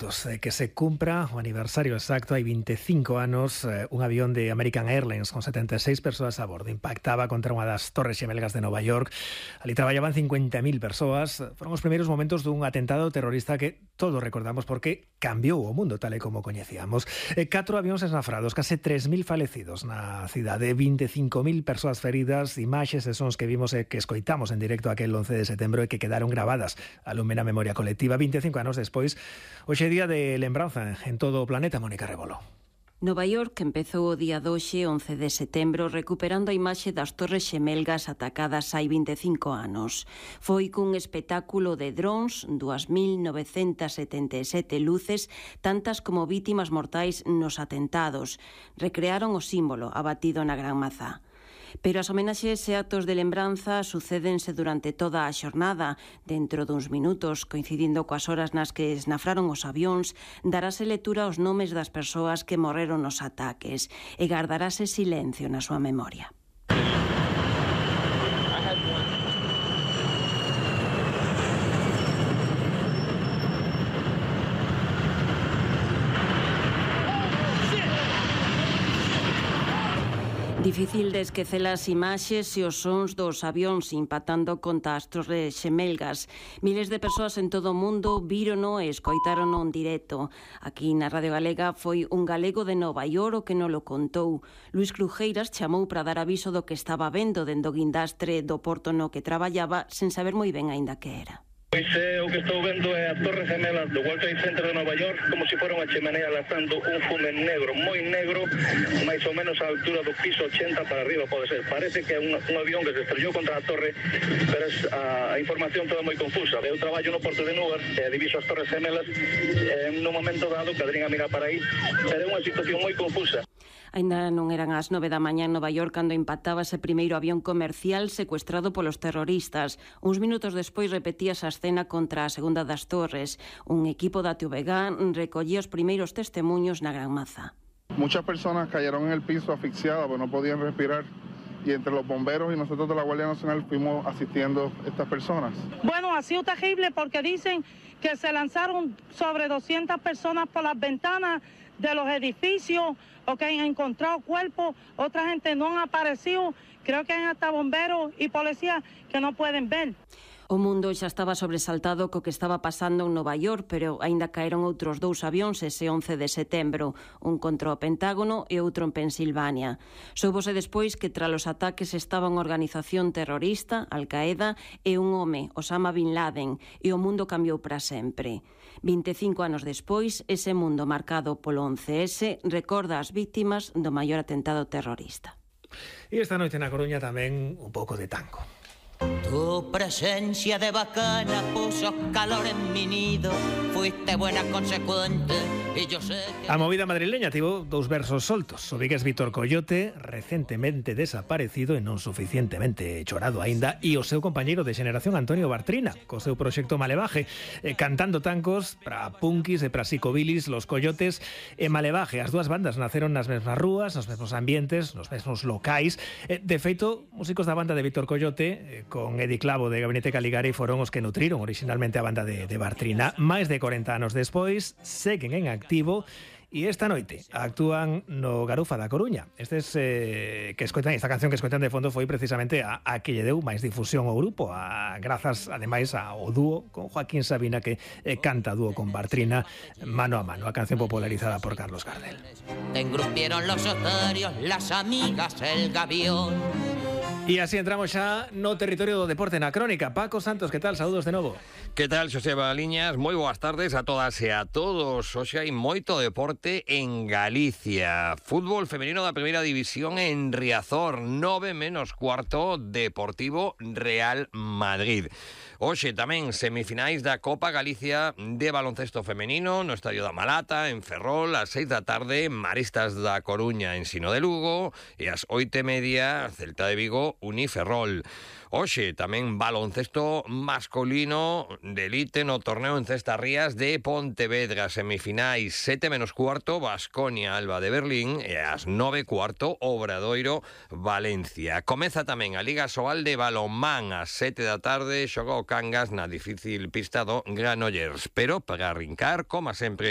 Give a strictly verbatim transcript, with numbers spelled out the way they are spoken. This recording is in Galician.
Que se cumpra o aniversario exacto, hai veinticinco anos, eh, un avión de American Airlines con setenta e seis persoas a bordo impactaba contra unha das torres xemelgas de Nova York. Ali traballaban cincuenta mil persoas. Foron os primeiros momentos dun atentado terrorista que todos recordamos porque cambiou o mundo tal e como coñecíamos. Eh, catro avións esnafrados, case tres mil falecidos na cidade, veinticinco mil persoas feridas, imaxes e sons que vimos e que escoitamos en directo aquel once de setembro e que quedaron gravadas a lume na memoria colectiva. veinticinco anos despois, hoxe día de lembranza en todo o planeta. Mónica Rebolo. Nova York empezou o día doxe, once de setembro, recuperando a imaxe das torres xemelgas atacadas hai veinticinco anos. Foi cun espectáculo de drons, dúas mil novecentas setenta e sete luces, tantas como vítimas mortais nos atentados. Recrearon o símbolo abatido na Gran Mazá. Pero as homenaxes e actos de lembranza sucédense durante toda a xornada. Dentro duns minutos, coincidindo coas horas nas que esnafraron os avións, darase lectura aos nomes das persoas que morreron nos ataques e gardarase silencio na súa memoria. Difícil de esquecer as imaxes e os sons dos avións impactando contra as torres xemelgas. Miles de persoas en todo o mundo vírono e escoitarono en directo. Aquí na Radio Galega foi un galego de Nova York o que non lo contou. Luís Crujeiras chamou para dar aviso do que estaba vendo dende o guindastre do porto no que traballaba sen saber moi ben aínda que era. Pois é, o que estou vendo é a Torre Gemela do World Trade Center de Nova York, como se fora unha chimenea lanzando un fume negro, moi negro, máis ou menos a altura do piso ochenta para arriba, pode ser. Parece que é un, un avión que se estrellou contra a torre, pero es, a, a información toda moi confusa. Eu traballo no porto de Newark, e diviso as Torres Gemelas, e en un momento dado cadrín a mirar para aí, pero é unha situación moi confusa. Ainda non eran as nove da mañá en Nova York cando impactaba ese primeiro avión comercial secuestrado polos terroristas. Uns minutos despois repetíase a escena contra a segunda das torres. Un equipo da T V G recollía os primeiros testemunhos na Gran Mazá. Muchas personas cayeron en el piso asfixiadas, pues no podían respirar. Y entre los bomberos y nosotros de la Guardia Nacional fuimos asistiendo a estas personas. Bueno, ha sido terrible porque dicen que se lanzaron sobre doscientas personas por las ventanas de los edificios, o que han encontrado cuerpos, otra gente no han aparecido, creo que hay hasta bomberos y policías que no pueden ver. O mundo xa estaba sobresaltado co que estaba pasando en Nova York, pero aínda caeron outros dous avións ese once de setembro, un contra o Pentágono e outro en Pensilvania. Soubose despois que tras os ataques estaba unha organización terrorista, Al-Qaeda, e un home, Osama Bin Laden, e o mundo cambiou para sempre. veinticinco anos despois, ese mundo marcado polo once ese recorda as vítimas do maior atentado terrorista. E esta noite na Coruña tamén un pouco de tango. Tu presencia de bacana puso calor en mi nido, fuiste buena consecuente y yo sé que... A movida madrileña tivo dous versos soltos. O vigués Vítor Coyote, recentemente desaparecido e non suficientemente chorado aínda, e o seu compañeiro de xeneración Antonio Bartrina, co seu proxecto Malevaje, eh, cantando tancos para punkis e para psicobilis, Los Coyotes e Malevaje. As dúas bandas naceron nas mesmas rúas, nos mesmos ambientes, nos mesmos locais. Eh, de feito, músicos da banda de Vítor Coyote, eh, con Edi Clavo de Gabinete Caligari, foron os que nutriron originalmente a banda de, de Bartrina. Máis de corenta anos despois, seguen en activo e esta noite actúan no Garufa da Coruña. Estes eh, que escoitan, esta canción que escoitan de fondo foi precisamente a, a que lle deu máis difusión ao grupo, a, grazas ademais ao dúo con Joaquín Sabina que eh, canta dúo con Bartrina Mano a Mano, a canción popularizada por Carlos Gardel. Te engrupieron los otarios, las amigas, el gavión. E así entramos xa no territorio do deporte na crónica. Paco Santos, que tal? Saúdos de novo. Que tal, Xoseba Liñas? Moi boas tardes a todas e a todos. Hoxe hai moito deporte en Galicia. Fútbol femenino da primeira división en Riazor, nove menos cuarto, Deportivo Real Madrid. Hoxe tamén semifinais da Copa Galicia de baloncesto femenino no Estadio da Malata, en Ferrol, ás seis da tarde, Maristas da Coruña en Sino de Lugo, e ás oito e media, Celta de Vigo, Uniferrol. Hoxe tamén baloncesto masculino de elite no torneo en Cestas Rías de Pontevedra, semifinais sete menos cuarto, Baskonia Alba de Berlín, e ás nove cuarto, Obradoiro Valencia. Comeza tamén a Liga Sobal de balonmán ás sete da tarde, xoga o Cangas na difícil pista do Granollers. Pero para arrincar, como sempre,